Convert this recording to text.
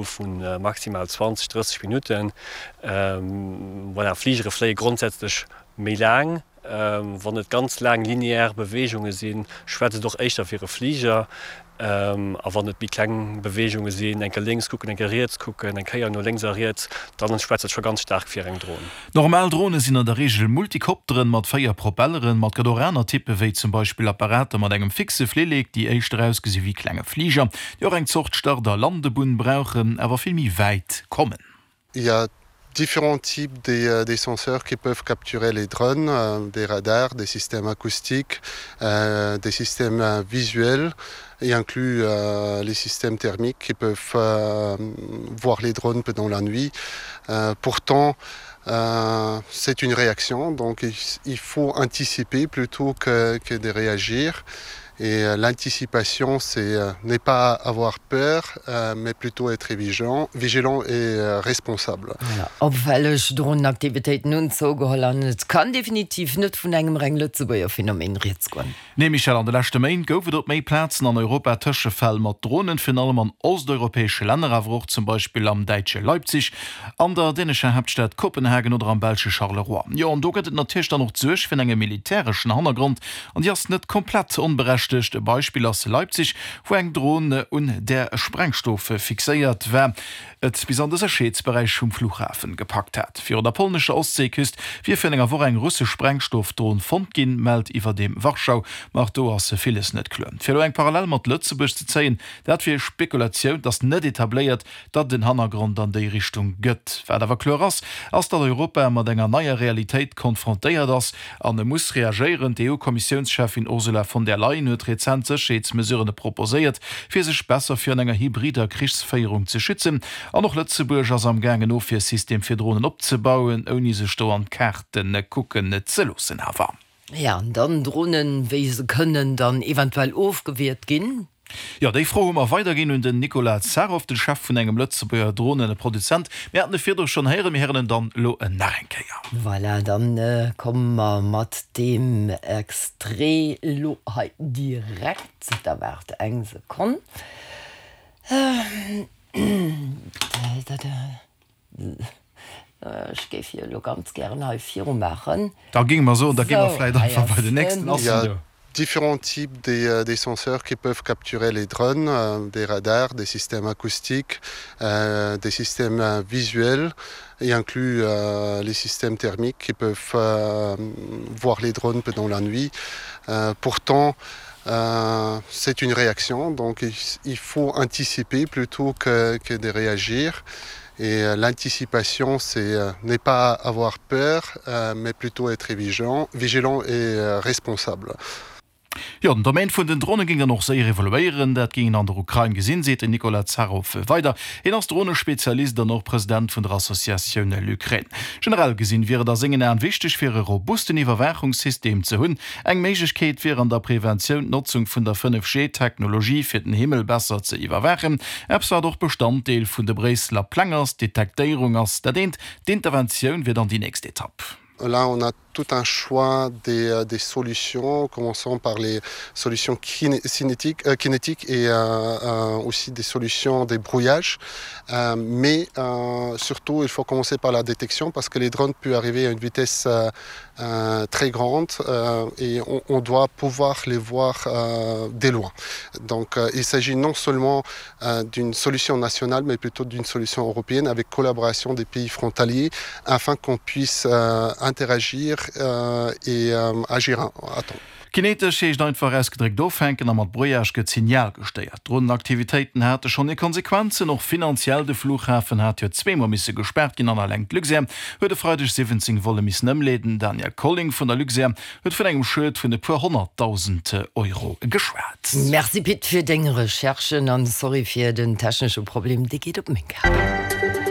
hu vu maximal 20, 30 Minutten. Voilà, Fligere fléie grondsätzlech méi laang. Wann et ganz laang linear Beweegunge sinn, schwätzt et och éischter fir e Fliger. A wann et méi kleng Beweegunge sinn, eng Kéier lénks kucken, eng Kéier riets kucken, eng Kéier no lénks a riets, dann schwätzt et scho ganz staark fir eng Dron. Normal Drone sinn an der Reegel Multikopteren mat 4 Propelleren, ma et gëtt och aner Typpe wéi zum Beispill Apparater mat engem fixe Flillek, déi éischter ausgesi wéi klenge Fliger, déi och eng Zort Start a Landebunn brauchen, awer vill méi wäit kommen. Il y a différents types des, euh, des senseurs qui peuvent capturer les drones, euh, des radars, des systèmes acoustiques, euh, des systèmes euh, visuels et inclus euh, les systèmes thermiques qui peuvent euh, voir les drones pendant la nuit. Euh, pourtant, euh, c'est une réaction, donc il, il faut anticiper plutôt que, que de réagir. Et euh, l'anticipation, c'est euh, n'est pas avoir peur, euh, mais plutôt être vigilant, vigilant et euh, responsable. Voilà. Opfälleg Dronenaktivitéiten hunn zougeholl an et kann definitiv net vun engem reng Lëtzebuerger Phänomen rieds goen. Nee Michèle, an de leschte Méint gouf et op méi Plazen an Europa Tëschefäll mat Dronen, virun allem an osteuropäesche Länner, awer och zum Beispill am däitsche Leipzig, an der dänescher Haaptstad Kopenhagen oder am belsche Charleroi. Jo, an do gëtt et natierlech dann och d'Suerg vun engem militäreschen Hannergrond, an déi ass net komplett onberechtegt. E Beispill ass Leipzig, wou eng Dron un där Sprengstoff fixéiert war, et bis an de Sécherheetsberäich vum Flughafen gepackt hat. Virun der polnescher Ostseeküst wier virun enger Woch eng russesch Sprengstoffdron fonnt ginn, mellt iwwerdeem Warschau. Ma och do ass villes net kloer. Fir elo eng Parallel mat Lëtzebuerg ze zéien, dat wier Spekulatioun, et ass net etabléiert, datt et en Hannergrond an déi Richtung gëtt. Wat awer kloer ass, ass datt Europa mat enger neier Realitéit konfrontéiert ass an e muss reagéieren. D'EU-Kommissiounscheffin Ursula von der Leyen huet rezent Sécherheetsmesurene proposéiert, fir sech besser virun enger hybrider Krichsféierung ze schützen. An och Lëtzebuerg ass am Gaang en Ofwiersystem fir Dronen opzebauen, ouni sech do an d'Kaarte kucken ze loossen awer. Jo, an dann Dronen, wéi se kënnen dann eventuell ofgewiert ginn. Jo, déi Fro hu mer weiderginn un den Nicolas Zaroff, de Chef vun engem Lëtzebuerger Droneneproduzent. Mir haten e virdru schonn héieren, mir héieren en dann elo nach eng Kéier. Voilà, dann komme mer mat deem Extrait elo hei direkt. Da waart eng Sekonn. Ech géif jo elo ganz gären hei virumaachen. Da géinge mer soen, da gi mer vläicht einfach bei den nächsten. Ass en do? Différents types des, des senseurs qui peuvent capturer les drones, des radars, des systèmes acoustiques, des systèmes visuels et inclus les systèmes thermiques qui peuvent voir les drones pendant la nuit. Pourtant, c'est une réaction, donc il faut anticiper plutôt que, que de réagir. Et euh, l'anticipation, c'est euh, n'est pas avoir peur, euh, mais plutôt être vigilant, vigilant et euh, responsable. Jo, den Domaine vun den Drone géing dann och séier evoluéieren. Dat géing een an der Ukrain gesinn, seet den Nicolas Zaroff weider. Hien ass Dronespezialist an och President vun der Associatioun LUkraine. Generell gesinn wier et a sengen Aen wichteg fir e robusten Iwwerwaachungssystem ze hunn. Eng Méiglechkeet wier an der Preventioun d'Notzung vun der 5G-Technologie fir den Himmel besser ze iwwerwaachen. Eppes wat och Bestanddeel vun de Bréisseler Pläng ass. D'Detektéierung ass dat eent, d'Interventioun wier dann déi nächst Etapp. Là on a tout un choix des, euh, des solutions, commençant par les solutions cinétiques, euh, kinétiques et euh, euh, aussi des solutions des brouillages. Euh, mais euh, surtout, il faut commencer par la détection parce que les drones peuvent arriver à une vitesse euh, euh, très grande euh, et on, on doit pouvoir les voir euh, dès loin. Donc euh, il s'agit non seulement euh, d'une solution nationale, mais plutôt d'une solution européenne avec collaboration des pays frontaliers afin qu'on puisse euh, interagir euh, et euh, agir à temps. Kinetesch heescht einfach ausgedréckt ofhänken a mat Brouillage gëtt d'Signal gestéiert. D'Dronenaktivitéiten hate schonn hir Konsequenzen, och finanziell. De Flughafen hat jo zweemol misse gespaart ginn an eleng d'Luxair huet e Freideg 17 Volle missen ëmleeden. Daniel Colling vun der Luxair huet vun engem Schued vun e puer 100.000 Euro geschwat. Merci Pit fir deng Recherchen an sorry fir den technesche Problem, dee geet op meng Kap.